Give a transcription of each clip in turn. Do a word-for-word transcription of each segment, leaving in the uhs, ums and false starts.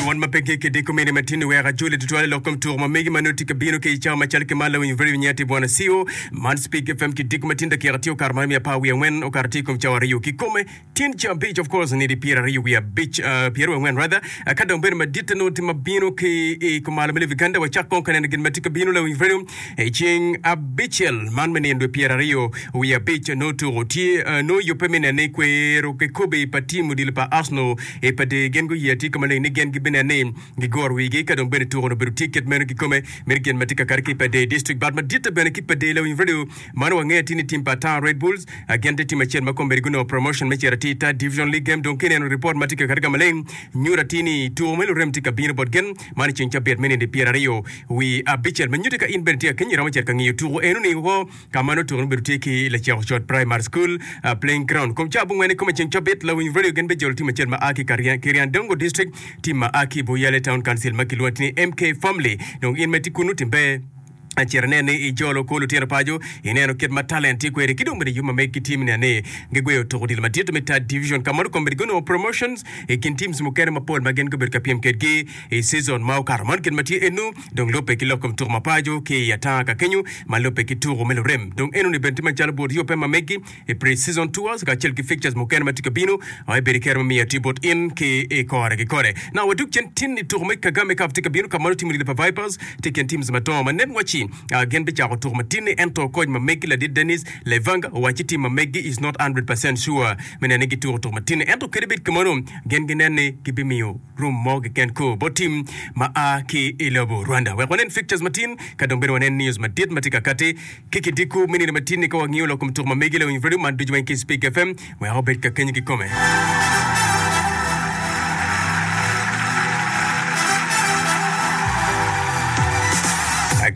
Wan ma pe ki kidiko mene matin wek ajoli tutwal i lok kom tuko ma megi ma nongo tye ka bino ki i cawa macal ki ma lawiny radio nyati bwana C O man Speak F M kidiko matin dakika tye okato ma miya apar wiye angwen okato tye i kom cawa aryo kikome tin ca abic, of course nidi pyera aryo wiye abic, uh, pyera wiye angwen rather. uh, ka dong bedo madit nongo tye ma bino ki i kumalo me Uganda, wacak kong ka neno gin ma tye ka bino. Lawiny radio i ceng abicel man me nino dwe pyera aryo wiye abic nongo tuko tye, uh, nongo yubbe me neno ni kwero kikobe pa tim odilo pa Arsenal e pa de gen guye tye ka maleng ni gen gibineno ni gigoro wigi ka dong bene tuko no bedo tye kit meno kikome meno gin ma tye ka kati ki pa de district but madit bene ki pa de. Lawiny radio mano wangeyo tye ni tim pa Town Red Bulls gin tye tim acel ma kombeddi gunongo promotion me cito atir third division league game. Dong kineno report ma tye ka kati ka maleng nyuto atir ni tuko me lurem tye ka bino bot gen man i ceng cabit me nino pyera aryo wi abicel ma nyuto ka in bene tye ka kenyo iromo cito ka ngiyo tuko eno ni wo ka ma nongo tuko no bedo tye ki Laceko Cot Primary School uh, playing ground kom ca abongwen i kome ceng cabit. Lawiny radio gen bejolo tim acel ma a ki Kiryandongo district, tim ma a ki Buyale Town Council ma kilwongo ni M K Family. Dong in ma itye kunu timbe acito inen ni ijolo ko lutino paco ineno kit ma talent tye kwede ki dong bene yub ma meg ki tim ni ni gigweyo tuko odilo madit me third division ka ma kombeddi gunongo promotions i kin teams mukene mapol ma gin gubedo ka pyem kedgi i season ma okato. Man gin ma tye enu dong lubbe ki lok kom tuko ma paco ki i atanga ka kenyo ma lubbe ki tuko me lurem. Dong eno ni bene tye macalo but yubbe ma meggi i pre-season tours kacel ki fixtures mukene ma tye ka bino ai bedo kero ma miyo tye bot in ki i kore ki kore. Na wadug cen tin i tuko me Kagame Cup tye ka bino ka ma timo odilo pa Vipers tye kin teams madongo ma nen waci uh, gin bicako tuko matin-ni ento koc ma meggi ladit Dennis Levanga owaci tim ma meggi is not one hundred percent sure me nene gituko tuko matin-ni ento kadi bed kimono gin ginen ni gibimiyo room mo keken ko bot tim ma a ki i lobo Rwanda. Wek wanen fixtures matin ka dong bene wanen news madit ma tye ka kati ki kidiko me nino matin-ni ka wangiyo lok kom tuko ma megi. Lawiny radio man ducu weng ki Speak F M wek obed ka kenyo kikome.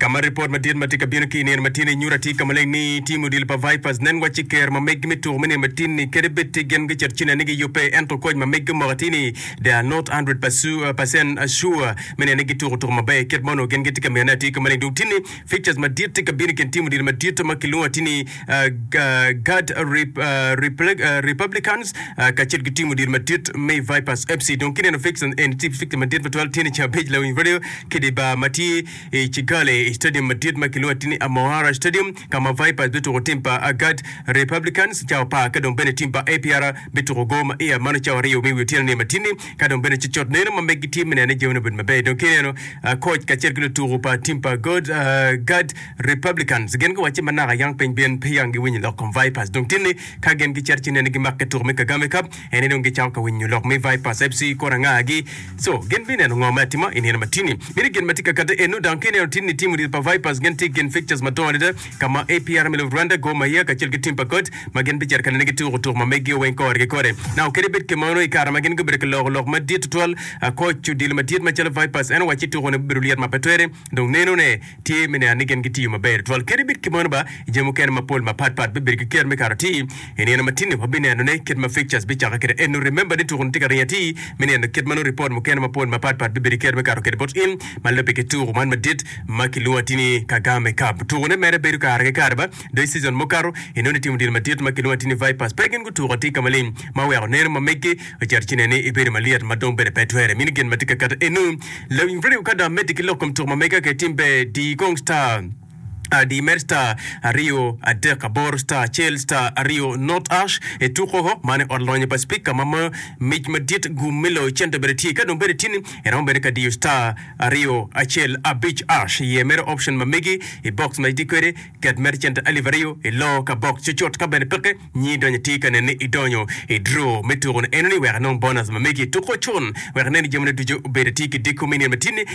Kama report madit ma tye ka bino ki i nino matin nyuto atir ka maleng ni tim odilo pa Vipers nen waci ker ma meggi me tuko me nino matin ni kadi bed tye gin gicito cine ni giyubbe ento koc ma meggi omoko atir ni they are not one hundred percent sure me neno ni gituko tuko maber kit ma onongo gin gitye ka miyone atir ka maleng. Dong tin ni fixtures madit tye ka bino i kin tim odilo madit ma kilwongo atir ni uh, Guard Rep, uh, Repl- uh, Republicans uh, kacel ki tim odilo madit me Vipers F C. Dong kineno fixtures en tye fixture madit matwal tye ni ca abic lawiny radio kidi bar ma tye i Kigali i stadium madit ma kilwongo atir ni Amahoro Stadium ka ma Vipers bituko tim pa Guard Republicans cawa apar ka dong bene tim pa A P R bituko go ma iya mano cawa aryo me wi otyeno ni matini ka dong bene cocot neno ma meggi tye me nene jami obedo maber. Dong kineno uh, coach kacel ki lutuko pa tim pa God, uh, Guard Republicans gin giwaci ma naka yang piny bin pe yang giwinyo lok kom Vipers. Dong tinni ka gin gicito ci nene gimake tuko me Kagame Cup ene dong gicako ka winyo lok me Vipers F C kora ngagi so gin bineno ngo me atima i nino matini mini gin ma tye ka kate eno. Dong kineno tinni tim odilo pa Vipers gin tye gin fixtures madongo adada ka ma A P R me Rwanda Gor Mahia kacel ki tim pa God ma gin bicito ka nene gituko tuko ma meggi weng kore ki kore. Now kadi bed kimono i kare ma gin gubedo ka loko lok madit tutwal, coach odilo madit macalo Vipers en owaci tuko ne bibedo lyet ma pe twere. Dong neno ne tye me neno ni gin gitiyo maber tutwal kadi bed kimono ba jami mukene mapol mapatpat bibedo ki ker me kato atir i nino matin-ni wabineno ne kit ma fixtures bicako kede eno. Remember ni tuko ni tye ka ringo atir me neno kit ma no report mukene mapol mapatpat bibedo ki ker me kato kede bot in ma lubbe ki tuko man madit ma kilwongo atir ni Kagame Cup. Tuko ne mere bedo kare ki kare ba do i season mukato inongo ni timo odilo madit ma kilwongo atir ni Vipers pe gin gutuko atir ka maleng ma oweko neno ma meggi ocito ci nene ibedo malyet ma dong bene pe twere mino gin ma tye ka kato eno. Lawiny radio ka dong amedde ki lok kom tuko ma mega ke tim be di kong star di mer star aryo adek aboro star acel star aryo not hash e tuko ho mane ot lonyo pa speaker ma ma mic madit gum me loyo cente bene tye ka dong bene tini iromo bene ka diyo star aryo acel abic hash iye mere option ma megi i box ma itye kwede ket mere cente alip aryo ilo ka box cucut ka bene peke nyi donyo tye ka nene idonyo i draw me tuko ni eno ni wek inong bonus ma megi tuko con wek inen ni jamine ducu obedo tye ki diko me nino matini.